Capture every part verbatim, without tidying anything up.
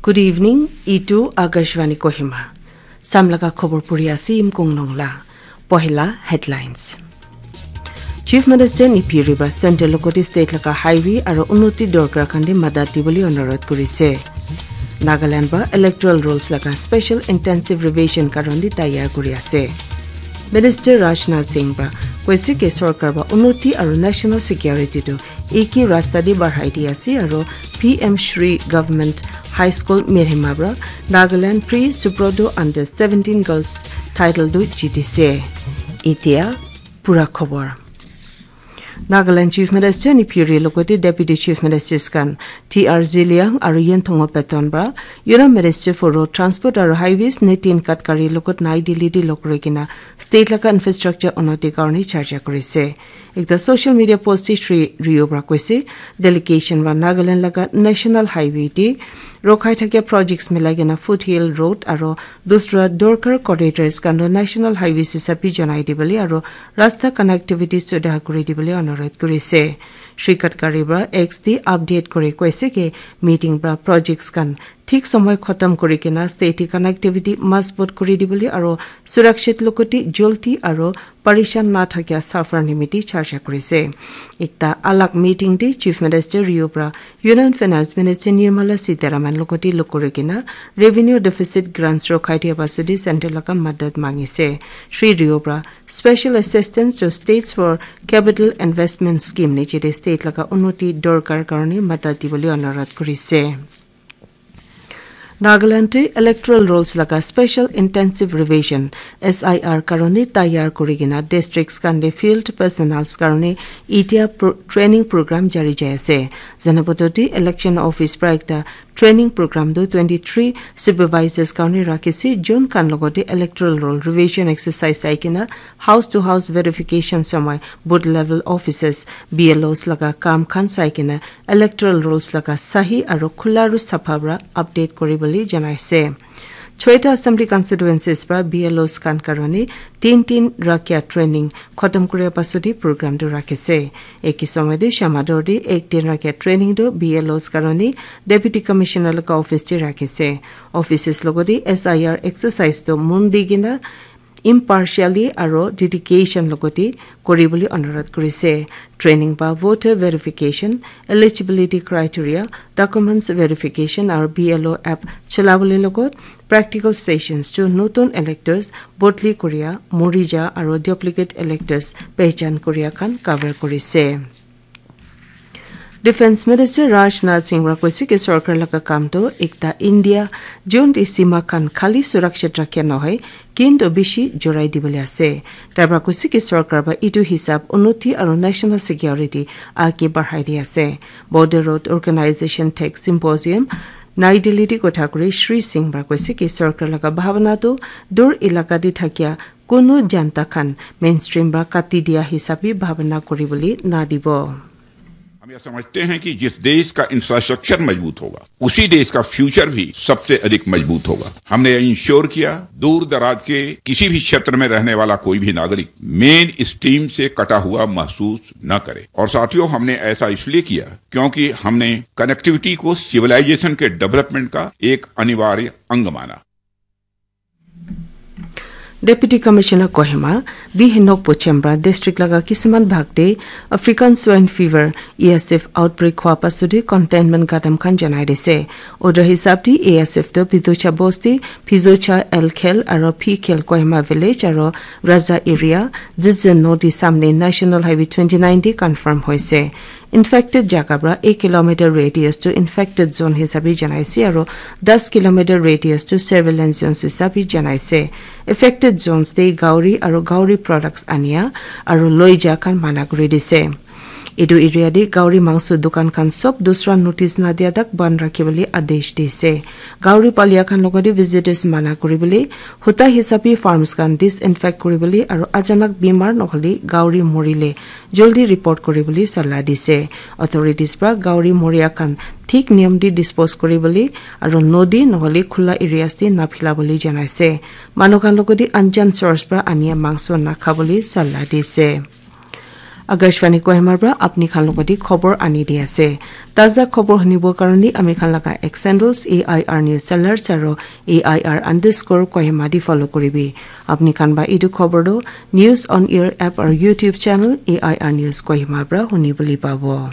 Good evening, itu Akashvani Kohima. Samlaga khobor puri ase Imkong Nongla. Pohila headlines. Chief Minister Neiphiu Rio para center logote state laga highway aro unnoti dorkar khan te madat dibole onurodh kurise. Nagaland para electoral rules laga special intensive revision karone tayar kuri ase. Minister Rajnath Singh para koise ke sorkar para unnoti aro national security tu ek hi rasta te barhai di ase aro P M Shri Government High School Mirhema para Nagaland Pre Subrodo Under seventeen Girls title tu jitise. Itia pura khobor. Nagaland Chief Minister Neiphiu Rio logote Deputy Chief Ministers khan T R Zeliang aro Yanthongo Patton para Union Minister for Road Transport aro Highways Nitin Gadkari logot Nai Delhi te log kuri kena state laga infrastructure unnoti karone charcha kurise. Ekta social media post te Shri Rio para koise, delegation para Nagaland laga National Highway te rokhai thakia projects milai kena Foothill Road aro dusra dorkar corridors khan toh National Highways hisabe janai dibole aro rasta connectivity sudhar kuri dibole onurodh kurise. Shri Gadkari para X te update kuri koise ke meeting para projects khan thik somoi khatam kuri kena state connectivity mazbut kuri dibole aro surakshit logote joldi aro parishan na thakia safar nimiti charcha kurise. Ekta alag meeting te Chief Minister Rio para Union Finance Minister Nirmala Sitharaman logote log kuri kena revenue deficit grants rokhai dia pasode center laga madat mangise. Shri Rio para Special Assistance to States for Capital Investment Scheme niche te state laga unnoti dorkar karone madat dibole onurodh kurise. Nagaland te electoral rolls laga special intensive revision S I R karone tayar kuri kena districts khan te field personnels karone itia pro training program jari jai ase. Zanaboto te election office para ekta training program tu twenty three supervisors karone rakhi ase, jun khan logote electoral roll revision exercise sai kena house to house verification somoi booth level officers, B L Os laga kam khan sai kena electoral rolls laga sahi aro khula aro sapha para update kuri bole janai ase. Choita assembly constituencies para B L Os khan karone tin tin rakhia training khatam kuria pasode program tu rakhi ase. Eki somoi te Shamator te ek din rakhia training tu B L Os karone Deputy Commissioner laga office te rakhi ase. Offices logote S I R exercise tu mon di kena impartially aro dedication logote kuri bole onurodh kurise. Training ba voter verification, eligibility criteria, documents verification aro B L O app cholabole logot practical sessions tu notun electors, bodli kuria, morija aro duplicate electors pehchan kuria khan cover kurise. Defence Minister Rajnath Singh para koise ki sorkar laga kam tu ekta India jun te sima khan khali surakshit rakhe nohoi, kintu bishi jorai dibole ase. Tai para koise ki sorkar para itu hisab unnoti aro national security age barhai di ase. Border Road Organization Tech Symposium Nai Delhi te kotha kuri Shri Singh para koise ki sorkar laga bhabana tu dur elaka te thakia kunu janta khan mainstream para kati dia hisabe bhabana kuri bole na dibo. हम यह समझते हैं कि जिस देश का इंफ्रास्ट्रक्चर मजबूत होगा, उसी देश का फ्यूचर भी सबसे अधिक मजबूत होगा। हमने यह इंश्योर किया, दूर दराज के किसी भी क्षेत्र में रहने वाला कोई भी नागरिक मेन स्ट्रीम से कटा हुआ महसूस न करे। और साथियों, हमने ऐसा इसलिए किया क्योंकि हमने कनेक्टिविटी को सिविलाइजेशन के डेवलपमेंट का एक अनिवार्य अंग माना। Deputy Commissioner Kohima, B Henok Pochem para district laga kisiman bhag te African Swine Fever, A S F outbreak hua pasode containment gadam khan janai dise. Order hisab te A S F to Bidocha Bosti, Phizocha L Khel aro P Khel Kohima Village aro Raza Area, Zizzen Nodi samne National Highway twenty nine te confirm hoise. Infected jaga para ek kilometer radius tu infected zone hisabe janaise aro das kilometer radius tu surveillance zones hisabe janaise. Affected zones te gauri aro gauri products ania aro loija khan mana kuri dise. Etu area te gauri mangso dukan khan sob dusra notice nadia tak ban rakhi bole adesh dise. Gauri palia khan logote visitors mana kuri bole, huta hisabe farms khan disinfect kuri bole aro achanak bimar nohole gauri morile joldi report kuri bole salah dise. Authorities para gauri moria khan thik niyam te dispose kuri bole aro nodi nohole khula areas te naphila bole janaise. Manu khan logote anjan source para ania mangso nakha bole salah dise. Akashvani Kohima pra apni khan logoti khobor ani di ase. Taza khobor hunibo karone ami khan laga X handles A I R News Alerts aro A I R underscore Kohima di follow kuribi. Apni khan ba idu khobor do News on Air app aro YouTube channel A I R News Kohima pra huni boli pabo.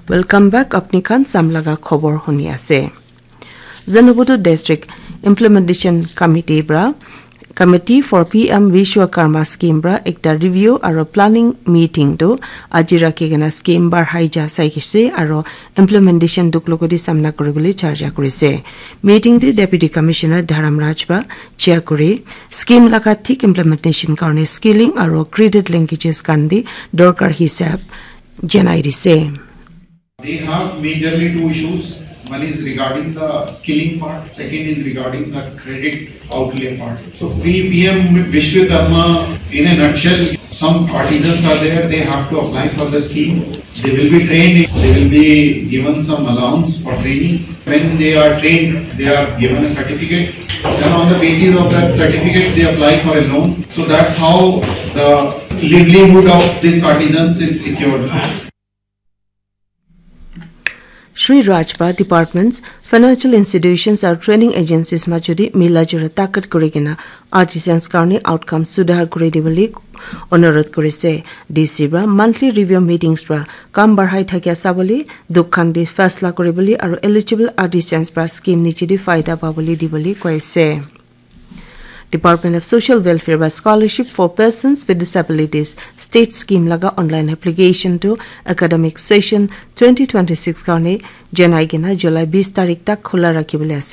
Welcome back, apni khan sam laga khobor huni ase. Zanaputo District Implementation Committee pra Committee for P M Vishwakarma Scheme pra ekta review aro planning meeting tu aji rakhi kena scheme barhai ja sai kise aro implementation duk logoti samna kuribole charja kurise. Meeting te Deputy Commissioner Dharam Raj pra chair kuri scheme laga thik implementation karone skilling aro graded linkages khan di dorkar hisab janai dise. They have majorly two issues. One is regarding the skilling part, second is regarding the credit outlay part. So P M Vishwakarma, in a nutshell, some artisans are there, they have to apply for the scheme. They will be trained, they will be given some allowance for training. When they are trained, they are given a certificate. Then on the basis of that certificate, they apply for a loan. So that's how the livelihood of these artisans is secured. Shri Raj pra departments, financial institutions aru training agencies majodi mila jula takat kuri kena artisans karone outcome sudhar kuri dibole onurodh kurise. D C pra monthly review meetings pra kam barhai thakia sabole, dukh khan di faisla kuribole aru eligible artisans pra scheme niche di faida pabole dibole koise. Department of Social Welfare pra Scholarship for Persons with Disabilities State Scheme laga online application tu academic session twenty twenty-six karone janai kena July bis tarik tak khula rakhibole ase.